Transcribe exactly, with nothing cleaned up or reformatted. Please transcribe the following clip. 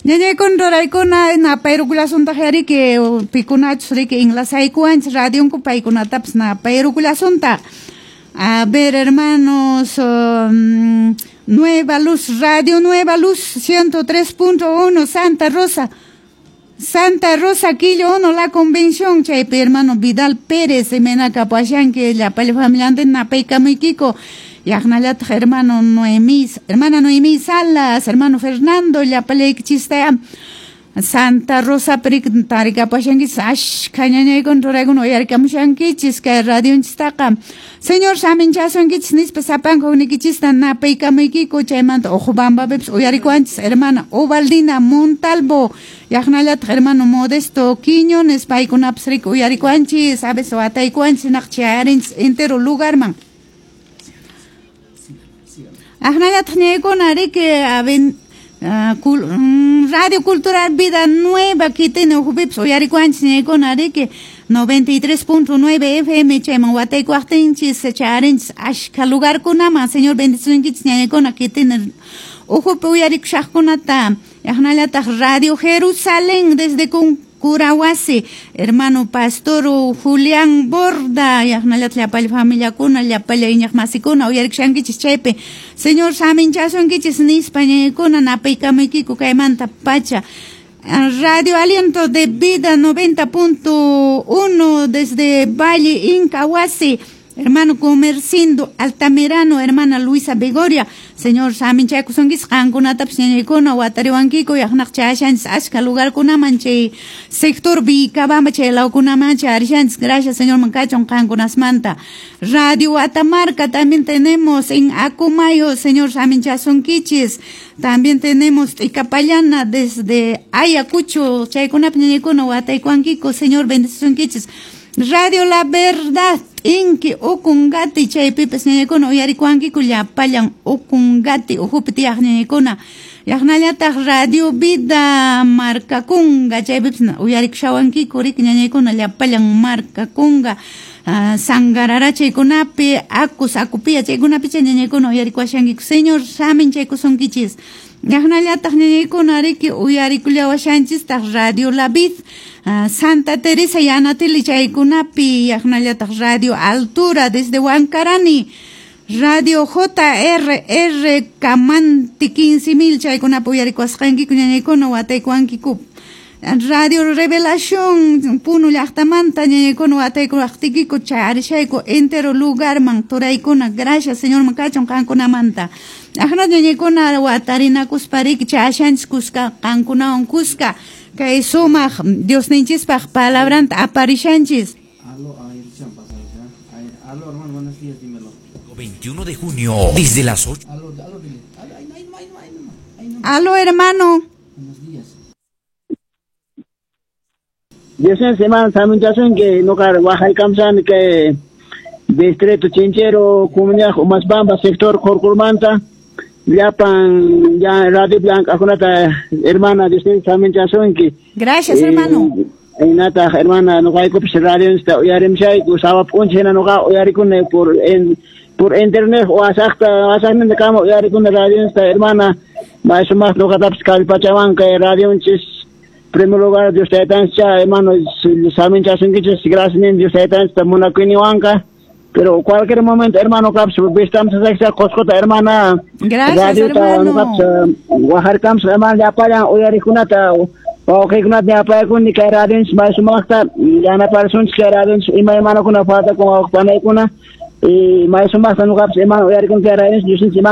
Ñañaykuna ruraykuna napayrukullasuntaq yariki pikunachus riki enlazaykuwanchis radionku paykunatapas napayrukullasuntaq. A ver, hermanos, um, Nueva Luz, Radio Nueva Luz, ciento tres punto uno, Santa Rosa. Santa Rosa, Quillo uno, La Convención, chaypi hermano Vidal Pérez, imaynaka puashanki, llapalla familiantin napaykamuykiko. Yaqnallataq hermano Noemí, hermana Noemí Salas, hermano Fernando, llapallaykichista Santa Rosa prik tarikapashankichis, ashkha ñañaykuna ruraykuna uyarikamushankichis kay radionchistaqa. Señor saminchasunkichis nispa sapanka hukniykichista napaykamuykiko, chaymanta Ojobambapipas uyarikuwanchis hermana Ovaldina Montalvo, yaqnallataq hermano Modesto Quiñones, paykunapas riki uyarikuwanchis, a veces wataykuwanchis naq chayarinchis entero lugarman. Aqnallataq ñaykuna riki aven Uh, cul, mm, Radio Cultural Vida Nueva kitini ukhupipas uyarikuwanchis ñaykuna riki noventa y tres punto nueve F M chayman wataykuwaqtinchis chayarinchis ashkha lugarkunaman. Señor bendicionkichis ñaykuna kitini ukhupi uyarikushaqkunata. Yaqnallataq Radio Jerusalén desde Curahuasi, hermano Pastor Julián Borda, yaqnallataq llapalla familiakuna, llapalla iñiqmasikuna uyarikushankichis chaypi. Señor saminchasunkichis nispa ñaykuna napaykamuykiku kaymanta pacha. Radio Aliento de Vida noventa punto uno desde Valle Incahuasi, hermano Comercindo Altamirano, hermana Luisa Begoria. Señor saminchaykusunkichis qankunatapas ñañaykuna watariwankiko yaqnaq chayashanchis ashka lugarkunaman chay sector Vicabamba chay lawkunaman chayarishanchis. Gracias Señor mankachun qankunasmanta. Radio Atamarca también tenemos en Acumayo, Señor saminchasunkichis. También tenemos Icapayana desde Ayacucho, chaykunapi ñañaykuna wataykuwankiko. Señor bendicionkichis. Radio La Verdad, Inki Ukungati, chaypipas ñañaykuna uyarikuwankiku llapallan Ukungati ukhupi tiyaq ñañaykuna. Yaqnallataq Radio Vida Marcakunga, chaypipas uyarikushawankiku riki ñañaykuna llapallan Marcakunga, uh, Sangarara chaykunapi, Acus, Acupía chaykunapi chay ñañaykuna uyarikuwashankiku. Señor samin chaykusunkichis. Yaqnallataq ñañaykuna riki uyarikullawashanchistaq Radio La Vid, uh, Santa Teresa Yanatili chaykunapi, yaqnallataq Radio Altura desde Huancarani, Radio J R R Camanti quince mil chaykunapi uyarikuwasqankiku ñañaykuna wataykuwankiku. Radio Revelación Puno llaqtamanta ñañaykuna wataykuwaqtikiku charishayku entero lugarman turaykuna. Gracias Señor makachun qankunamanta. Aqna ñañaykuna watarinakuspa riki chayashanchis kuska qankunawan kuska kay sumaq Diosninchispaq palabranta aparishanchis. Aló, aló, hermano, buenos días, dímelo. veintiuno de junio, desde las ocho. Aló, aló, dile. Aló, hermano. Buenos días. Dios semana saminchasun que no car Oaxaca que distrito Chinchero, comunidad Umasbamba, sector Corcurmanta, Llapan ya Radio Blanca, akunata hermana Dios saminchasun que. Gracias, hermano. Inata hermana no hay copis radio está uyarimshay usaba punchena no ga uyarikune por en por internet o asakta asakta kama uyarikune radio está hermana más más no gataps kalpachawan que radio chis primer lugar Dios te tancha hermano saben chasunkichis gracias Dios te tancha munakuiniwanka pero cualquier momento hermano caps vistamos a coscota hermana. Gracias hermano. Oaxaca hermana ya para uyarikunata wawqikunata ñapayakuni kay radionchis may sumaqta yanaparsunchis kay radionchis ima hermanokuna falta con wawqipanaykuna y may sumaqta ñuqapas hermano uyarikuni kay radionchis Diosninchis.